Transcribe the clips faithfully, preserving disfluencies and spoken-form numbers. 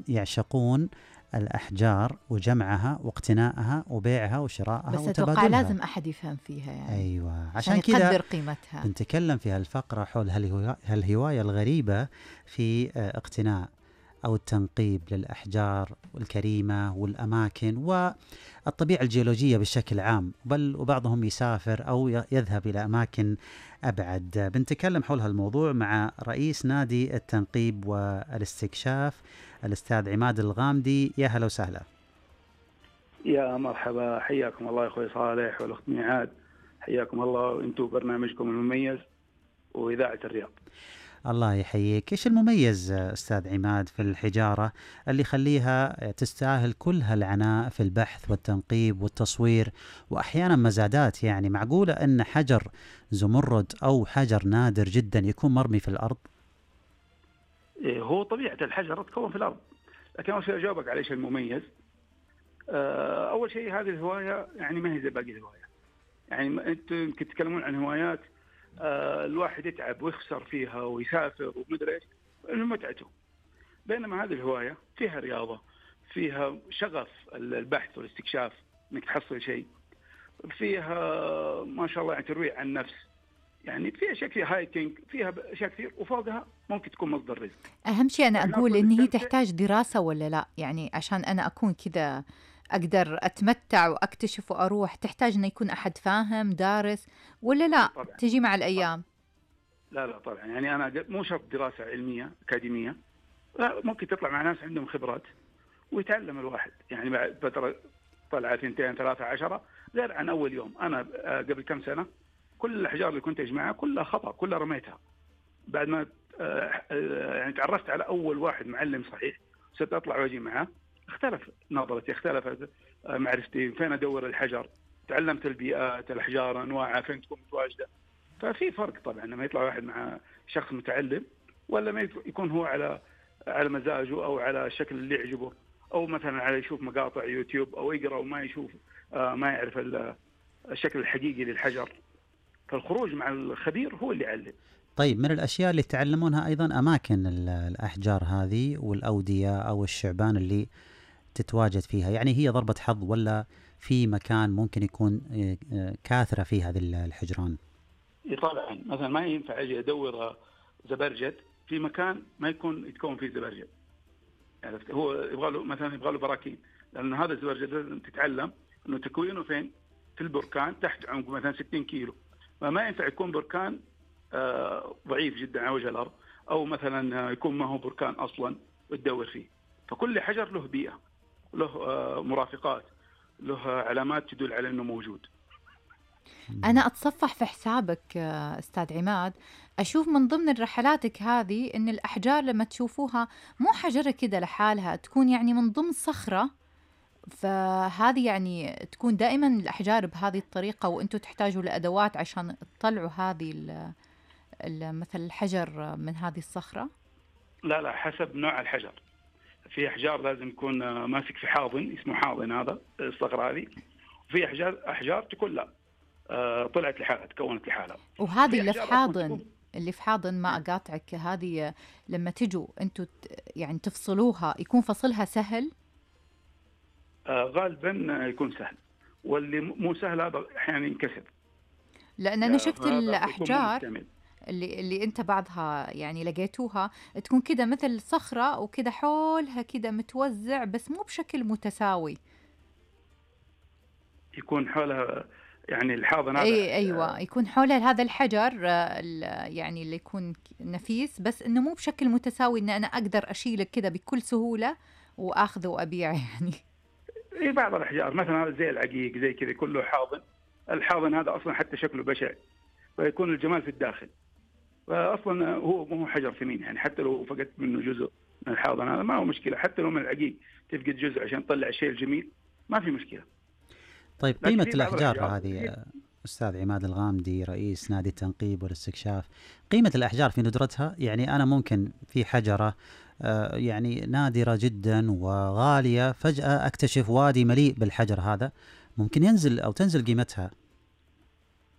يعشقون الأحجار وجمعها واقتنائها وبيعها وشرائها بس أتوقع وتبادلها. لازم أحد يفهم فيها يعني أيوة، عشان عشان كذا يقدر قيمتها. بنتكلم في هالفقرة حول هالهواية الغريبة في اقتناء أو التنقيب للأحجار الكريمة والأماكن والطبيعة الجيولوجية بشكل عام، بل وبعضهم يسافر أو يذهب إلى أماكن أبعد. بنتكلم حول هالموضوع مع رئيس نادي التنقيب والاستكشاف الأستاذ عماد الغامدي. يا هلا وسهلا. يا مرحبا، حياكم الله يا أخوي صالح والأخت ميعاد، حياكم الله وأنتم برنامجكم المميز وإذاعة الرياض. الله يحييك. إيش المميز أستاذ عماد في الحجارة اللي يخليها تستاهل كل هالعناء في البحث والتنقيب والتصوير وأحيانا مزادات؟ يعني معقولة أن حجر زمرد أو حجر نادر جدا يكون مرمي في الأرض؟ هو طبيعة الحجر تكون في الأرض، لكن أول شيء أجاوبك على إيش المميز. أول شيء هذه الهواية يعني ما هي زي باقي الهواية. يعني أنتم يمكن تتكلمون عن هوايات آه الواحد يتعب ويخسر فيها ويسافر ومدري ايش، انه متعته. بينما هذه الهوايه فيها رياضه، فيها شغف البحث والاستكشاف، انك تحصل شيء، فيها ما شاء الله يعني ترويع عن النفس، يعني فيها اشياء، فيها هايكينج، فيها اشياء كثير، وفوقها ممكن تكون مصدر رزق. اهم شيء انا اقول ان هي تحتاج دراسه ولا لا، يعني عشان انا اكون كذا أقدر أتمتع وأكتشف وأروح، تحتاج أن يكون أحد فاهم دارس ولا لا؟ طبعًا. تجي مع الأيام. لا لا طبعا، يعني أنا مو شرط دراسة علمية أكاديمية، لا، ممكن تطلع مع ناس عندهم خبرات ويتعلم الواحد. يعني بعد فترة طلع ثنتين ثلاثة عشرة غير عن أول يوم. أنا قبل كم سنة كل الأحجار اللي كنت أجمعها كلها خطأ، كلها رميتها. بعد ما يعني تعرفت على أول واحد معلم صحيح، صرت أطلع واجي معه، اختلف نظرتي، اختلفت معرفتي، فين أدور الحجر، تعلمت البيئات، الأحجار أنواعها، فين تكون متواجدة. ففي فرق طبعا لما يطلع واحد مع شخص متعلم، ولا ما يكون هو على على مزاجه أو على الشكل اللي يعجبه، أو مثلا على يشوف مقاطع يوتيوب أو يقرأ وما يشوف ما يعرف الشكل الحقيقي للحجر. فالخروج مع الخبير هو اللي يعلم. طيب، من الأشياء اللي تعلمونها أيضا أماكن الأحجار هذه والأودية أو الشعبان اللي تتواجد فيها، يعني هي ضربة حظ ولا في مكان ممكن يكون كاثرة في هذه الحجران؟ طبعا مثلا ما ينفع أجي أدور زبرجد في مكان ما يكون يتكون فيه زبرجد، يعني هو يبغى له مثلا يبغى له براكين، لأن هذا الزبرجد تتعلم إنه تكوينه فين؟ في البركان تحت عمق مثلا ستين كيلو، فما ينفع يكون بركان آه ضعيف جدا على وجه الأرض، أو مثلا يكون ما هو بركان أصلا وتدور فيه. فكل حجر له بيئة، له آه مرافقات، له علامات تدل على أنه موجود. أنا أتصفح في حسابك أستاذ عماد، أشوف من ضمن رحلاتك هذه إن الأحجار لما تشوفوها مو حجرة كده لحالها، تكون يعني من ضمن صخرة، فهذه يعني تكون دائما الأحجار بهذه الطريقة، وأنتوا تحتاجوا لأدوات عشان تطلعوا هذه مثل الحجر من هذه الصخرة. لا لا، حسب نوع الحجر. في أحجار لازم يكون ماسك في حاضن، اسمه حاضن هذا الصخرة هذه، وفي أحجار أحجار تكون لا آه طلعت لحالها، تكونت لحالها. وهذه اللي في حاضن اللي في حاضن ما أقاطعك، هذه لما تجوا أنتوا يعني تفصلوها يكون فصلها سهل؟ آه غالبا يكون سهل، واللي مو سهل هذا أحيانا ينكسر. لأن أنا شفت الأحجار اللي اللي أنت بعضها يعني لقيتوها تكون كده مثل صخرة وكده حولها كده متوزع، بس مو بشكل متساوي، يكون حولها يعني الحاضن هذا. أي أيوة، يكون حولها هذا الحجر يعني اللي يكون نفيس، بس إنه مو بشكل متساوي إن أنا أقدر أشيلك كده بكل سهولة وأخذه وأبيع يعني. إيه بعض الأحجار مثلا هذا زي العقيق زي كذا كله حاضن، الحاضن هذا أصلا حتى شكله بشع، فيكون الجمال في الداخل، فأصلا هو مو حجر ثمين، يعني حتى لو فقدت منه جزء من الحاضن هذا ما هو مشكلة، حتى لو من العقيق تفقد جزء عشان تطلع الشيء الجميل ما في مشكلة. طيب، قيمة الأحجار هذه أستاذ عماد الغامدي رئيس نادي التنقيب والاستكشاف، قيمة الأحجار في ندرتها، يعني أنا ممكن في حجرة آه يعني نادرة جدا وغالية فجأة أكتشف وادي مليء بالحجر هذا، ممكن ينزل أو تنزل قيمتها.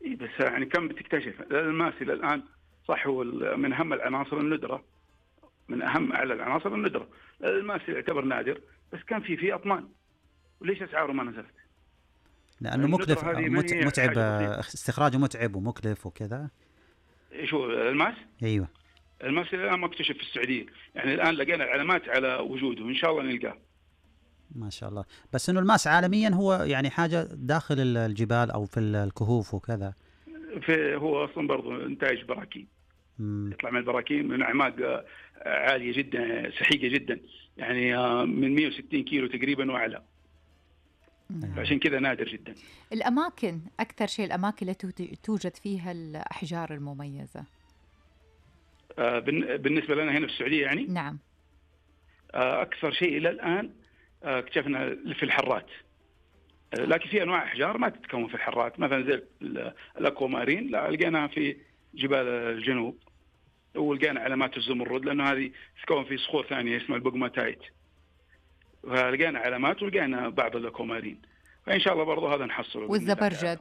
إيه بس يعني كم بتكتشف الماس إلى الآن؟ صح، هو من أهم العناصر الندرة، من أهم أعلى العناصر الندرة. الماس يعتبر نادر بس كان في فيه أطنان، وليش أسعاره ما نزلت؟ لأنه مكلف، متعب، استخراجه متعب ومكلف وكذا. شو الماس؟ أيوة الماس الآن مكتشف في السعودية، يعني الآن لقينا العلامات على وجوده، إن شاء الله نلقاه. ما شاء الله. بس إنه الماس عالميا هو يعني حاجة داخل الجبال أو في الكهوف وكذا. في هو أصلا برضو إنتاج براكين، يطلع من البراكين من أعماق عالية جدا، سحيقة جدا، يعني من مئة وستين كيلو تقريبا وأعلى. عشان كذا نادر جدا. الأماكن، أكثر شيء الأماكن التي توجد فيها الأحجار المميزة. آه بالنسبة لنا هنا في السعودية يعني؟ نعم. آه أكثر شيء إلى الآن آه اكتشفنا في الحرات، آه لكن في أنواع أحجار ما تتكون في الحرات، مثلا زي الأكوامارين لا لقيناها في جبال الجنوب، ولقينا علامات الزمرد لأنه هذه تتكون في صخور ثانية اسمها البوغماتايت، فلقينا علامات ولقينا بعض الأكوامارين، فإن شاء الله برضو هذا نحصله. والزبرجد؟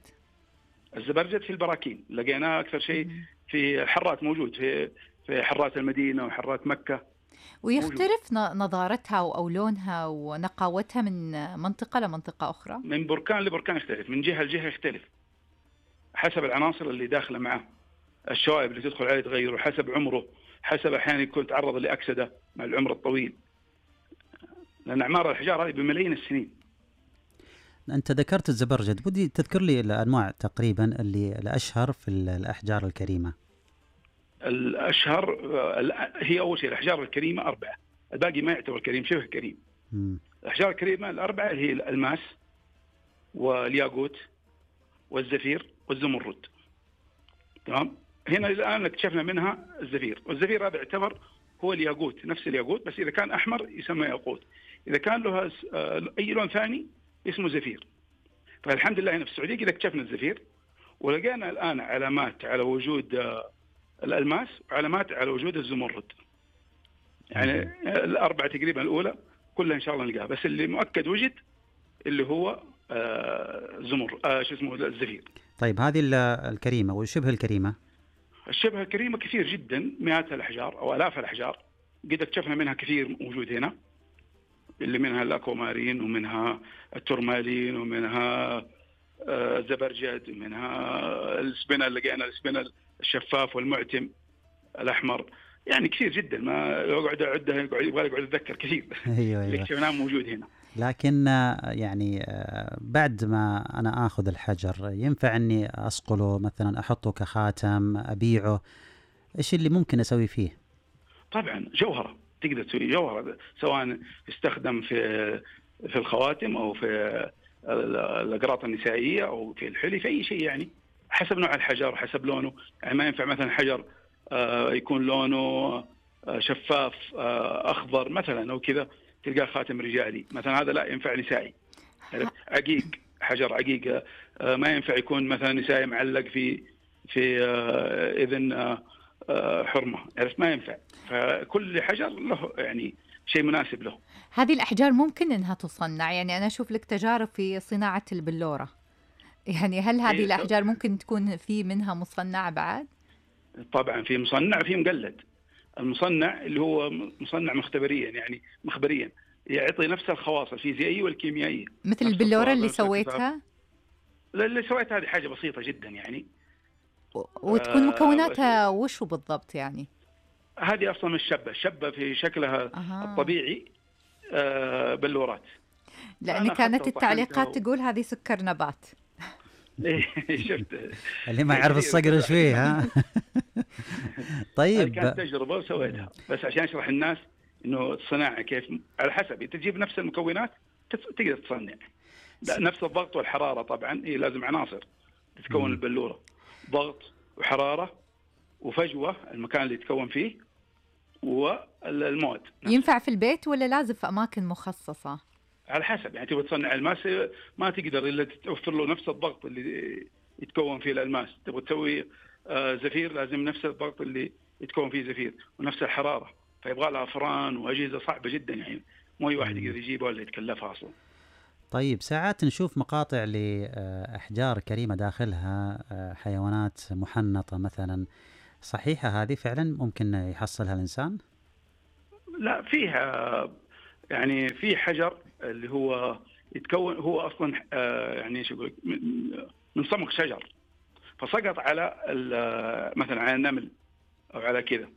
الزبرجد في البراكين لقيناه أكثر شيء في الحرات، موجود في في حرات المدينة وحرات مكة. ويختلف موجود. نضارتها أو لونها ونقاوتها من منطقة لمنطقة أخرى؟ من بركان لبركان يختلف، من جهة لجهة يختلف، حسب العناصر اللي داخلة معه، الشوائب اللي تدخل عليه تغير، وحسب عمره، حسب أحيانا يكون تعرض لأكسدة مع العمر الطويل، لأن أعمار الحجار هذه بملايين السنين. أنت ذكرت الزبرجد، بدي تذكر لي الأنواع تقريبا اللي الأشهر في الأحجار الكريمة. الأشهر هي أول شيء الأحجار الكريمة أربعة، الباقي ما يعتبر كريم، شبه كريم. م. الأحجار الكريمة الأربعة هي الألماس والياقوت والزفير والزمرد. تمام. هنا الآن اكتشفنا منها الزفير، والزفير هذا يعتبر هو الياقوت، نفس الياقوت، بس إذا كان أحمر يسمى ياقوت، إذا كان له أي لون ثاني اسمه زفير. فالحمد لله هنا في السعودية كذا اكتشفنا الزفير، ولقينا الآن علامات على وجود الألماس وعلامات على وجود الزمرد، يعني الأربعة تقريبا الأولى كلها إن شاء الله نلقاها، بس اللي مؤكد وجد اللي هو زمر آه شو اسمه الزفير. طيب هذه الكريمة وشبه الكريمة؟ الشبه الكريمة كثير جدا، مئات الأحجار أو آلاف الأحجار، قد اكتشفنا منها كثير موجود هنا، اللي منها الأكوامارين ومنها التورمالين ومنها الزبرجد ومنها السبنة، لقينا السبنة الشفاف والمعتم الأحمر، يعني كثير جدا ما يقعد أعدها يقعد يبغى يقعد أتذكر كثير. أيوة اللي اكتشفناه موجود هنا. لكن يعني بعد ما أنا آخذ الحجر ينفع أني أصقله مثلا، أحطه كخاتم، أبيعه، إيش اللي ممكن أسوي فيه؟ طبعا جوهرة، تقدر تسوي جوهرة، سواء يستخدم في في الخواتم أو في الأقراط النسائية أو في الحلي، في أي شيء يعني، حسب نوع الحجر حسب لونه. يعني ما ينفع مثلا حجر يكون لونه شفاف أخضر مثلا أو كذا تلقاه خاتم رجالي مثلا، هذا لا ينفع نسائي. عقيق، حجر عقيق ما ينفع يكون مثلا نسائي معلق في في إذن حرمة، عرفت؟ ما ينفع. فكل حجر له يعني شيء مناسب له. هذه الأحجار ممكن إنها تصنع، يعني أنا أشوف لك تجارب في صناعة البلورة، يعني هل هذه الأحجار ممكن تكون في منها مصنع بعد؟ طبعا في مصنع في مقلد. المصنع اللي هو مصنع مختبريا، يعني مخبريا، يعطي نفس الخواص الفيزيائية والكيميائية. مثل البلورة اللي سويتها؟ اللي سويتها هذه حاجة بسيطة جدا يعني. وتكون مكوناتها وشو بالضبط يعني؟ هذه أصلا الشبة، الشبة في شكلها أه. الطبيعي آه بلورات. لأن كانت التعليقات و... تقول هذه سكر نبات. شفت اللي ما يعرف الصقر شوي ها. طيب كانت تجربة وسويتها بس عشان أشرح الناس إنه الصناعة كيف على حسب تجيب نفس المكونات تقدر تصنع. نفس الضغط والحرارة طبعا هي لازم عناصر تتكون البلورة، ضغط وحرارة وفجوة المكان اللي يتكون فيه والمواد. ينفع في البيت ولا لازم في أماكن مخصصة؟ على حسب، يعني تبغى تصنع الماس ما تقدر إلا توفر له نفس الضغط اللي يتكون فيه الألماس. تبغى تسوي زفير لازم نفس الضغط اللي يتكون فيه زفير ونفس الحرارة، فيبغى لها فران وأجهزة صعبة جدا، يعني مو أي واحد يقدر يجيبها ولا يتكلفها أصلا. طيب ساعات نشوف مقاطع لأحجار كريمة داخلها حيوانات محنطة مثلا، صحيحة هذه فعلا ممكن يحصلها الإنسان؟ لا فيها يعني في حجر اللي هو يتكون هو اصلا آه، يعني ايش اقول من من صمغ شجر، فسقط على مثلا على النمل او على كذا،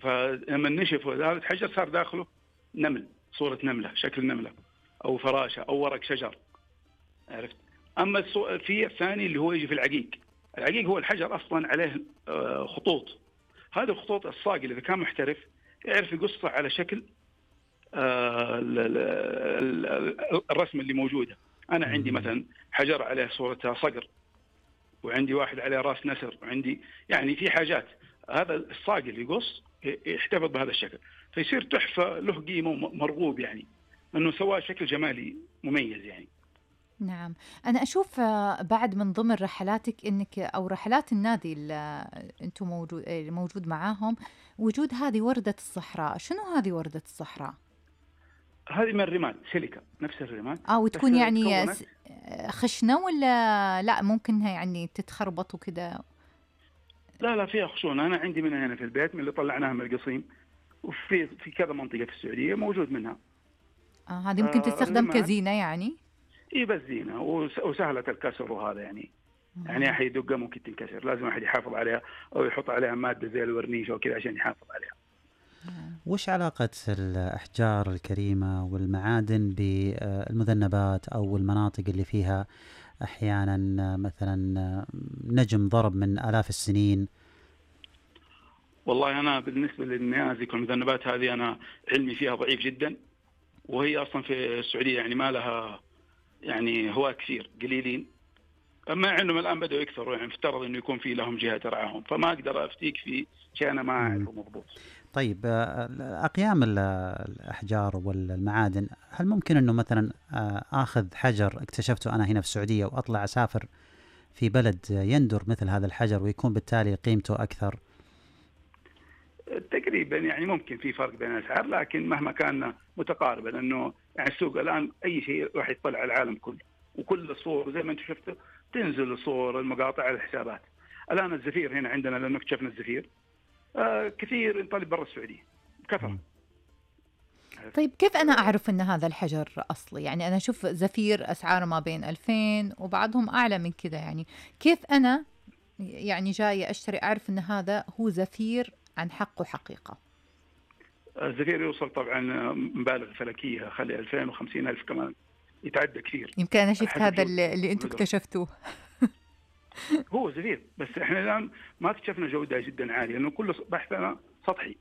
فلما نشف هذا الحجر صار داخله نمل، صورة نملة، شكل نملة او فراشة او ورق شجر، عرفت. اما في الثاني اللي هو يجي في العقيق، العقيق هو الحجر اصلا عليه خطوط، هذه الخطوط الصاقل اذا كان محترف يعرف يقصها على شكل الرسم اللي موجوده. انا عندي مثلا حجر عليه صوره صقر، وعندي واحد عليه راس نسر، وعندي يعني في حاجات هذا الصاقل يقص يحتفظ بهذا الشكل، فيصير تحفه له قيمه مرغوب، يعني انه سواه شكل جمالي مميز يعني. نعم، أنا أشوف بعد من ضمن رحلاتك إنك أو رحلات النادي اللي أنتم موجود موجود معاهم وجود هذه وردة الصحراء. شنو هذه وردة الصحراء؟ هذه من الرمال، سيليكا، نفس الرمال. اه وتكون يعني خشنة ولا لا ممكنها يعني تتخربط وكذا؟ لا لا فيها خشونة، أنا عندي منها هنا في البيت من اللي طلعناها من القصيم، وفي في كذا منطقة في السعودية موجود منها. اه هذه ممكن تستخدم آه كزينة يعني؟ إيه بس زينة وسهلة الكسر وهذا يعني. آه. يعني أحد يدقها ممكن تنكسر، لازم أحد يحافظ عليها أو يحط عليها مادة زي الورنيش أو كذا عشان يحافظ عليها. وش علاقة الأحجار الكريمة والمعادن بالمذنبات أو المناطق اللي فيها أحيانا مثلا نجم ضرب من آلاف السنين؟ والله أنا بالنسبة للنيازك والمذنبات هذه أنا علمي فيها ضعيف جدا، وهي أصلا في السعودية يعني ما لها يعني هواة كثير قليلين، أما أنهم الآن بدأوا يكثروا، يعني افترض أنه يكون في لهم جهة ترعاهم، فما أقدر أفتيك في شيء أنا ما أعرفه مضبوط. طيب أقيام الأحجار والمعادن، هل ممكن أنه مثلا آخذ حجر اكتشفته أنا هنا في السعودية وأطلع أسافر في بلد يندر مثل هذا الحجر ويكون بالتالي قيمته أكثر؟ تقريبا يعني ممكن في فرق بين الأسعار، لكن مهما كان متقاربا، لأنه يعني السوق الآن أي شيء راح يطلع على العالم كله، وكل الصور زي ما أنتم شفتوا تنزل الصور المقاطع على الحسابات. الآن الزفير هنا عندنا لأنه اكتشفنا الزفير آه كثير ينطلب برا السعودية كثر. طيب كيف أنا أعرف أن هذا الحجر أصلي؟ يعني أنا أشوف زفير أسعاره ما بين ألفين وبعضهم أعلى من كذا، يعني كيف أنا يعني جاي أشتري أعرف أن هذا هو زفير عن حقه حقيقة؟ الزفير يوصل طبعا مبالغ فلكية، خلي ألفين وخمسين ألف كمان، يتعدى كثير. يمكن أنا شفت هذا اللي, اللي أنتم اكتشفتوه. هو زفير، بس احنا الآن ما اكتشفنا جودة جدا عالية، لأنه كل بحثنا سطحي،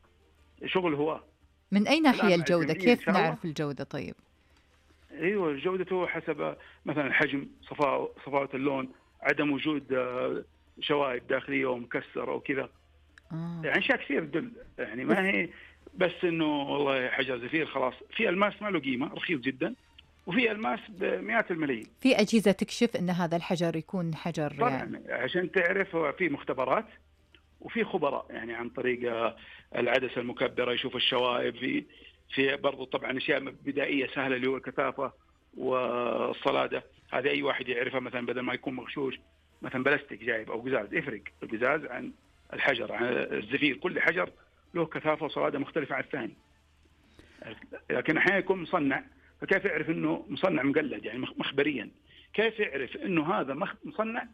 شغل هو. من أي ناحية الجودة؟ كيف نعرف الجودة طيب؟ ايوه جودته حسب مثلا الحجم، صفاء صفاءة اللون، عدم وجود شوائب داخلية ومكسر أو كذا. آه. يعني أشياء كثير تدل، يعني ما هي بس إنه والله حجر زفير خلاص. في ألماس ما له قيمة، رخيص جدا، وفي ألماس بمئات الملايين. في أجهزة تكشف إن هذا الحجر يكون حجر طبعا يعني. عشان تعرف هو في مختبرات وفي خبراء، يعني عن طريق العدسة المكبرة يشوف الشوائب، في في برضو طبعا أشياء بدائية سهلة اللي هو الكثافة والصلادة، هذه أي واحد يعرفها. مثلا بدل ما يكون مغشوش مثلا بلاستيك جايب أو قزاز، يفرق القزاز عن الحجر عن الزفير، كل حجر له كثافة وصلادة مختلفة عن الثاني. لكن أحيانا يكون مصنع، فكيف يعرف إنه مصنع مقلد يعني مخبريا؟ كيف يعرف إنه هذا مصنع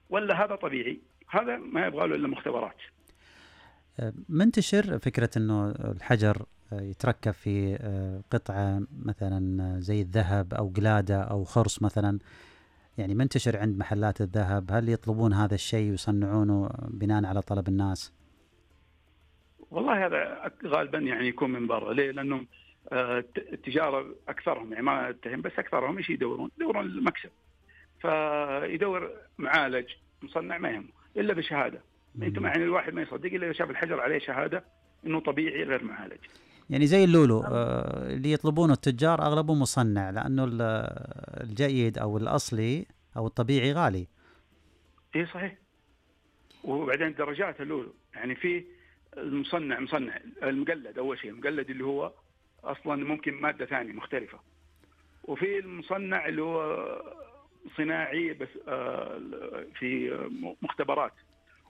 ولا هذا طبيعي؟ هذا ما يبغى له إلا مختبرات. منتشر فكرة إنه الحجر يتركب في قطعة مثلا زي الذهب أو قلادة أو خرص مثلا، يعني منتشر عند محلات الذهب، هل يطلبون هذا الشيء ويصنعونه بناء على طلب الناس؟ والله هذا غالبا يعني يكون من برا. ليه؟ لأنهم التجارة أكثرهم، يعني ما أتهم، بس أكثرهم إيش يدورون؟ يدورون المكسب، فيدور معالج مصنع ما يهمه إلا بشهادة. أنتم يعني الواحد ما يصدق إلا إذا شاف الحجر عليه شهادة إنه طبيعي غير معالج. يعني زي اللولو آه اللي يطلبونه التجار أغلبه مصنع، لأنه الجيد أو الأصلي أو الطبيعي غالي. إيه صحيح. وبعدين درجات اللولو، يعني في المصنع مصنع المقلد، أول شيء المقلد اللي هو أصلا ممكن مادة ثانية مختلفة، وفي المصنع اللي هو صناعي بس في مختبرات،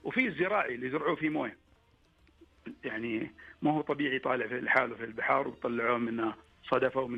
وفي الزراعي اللي يزرعوه فيه مويه. يعني ما هو طبيعي طالع في الحاله في البحار وطلعوه منها، صدفوا من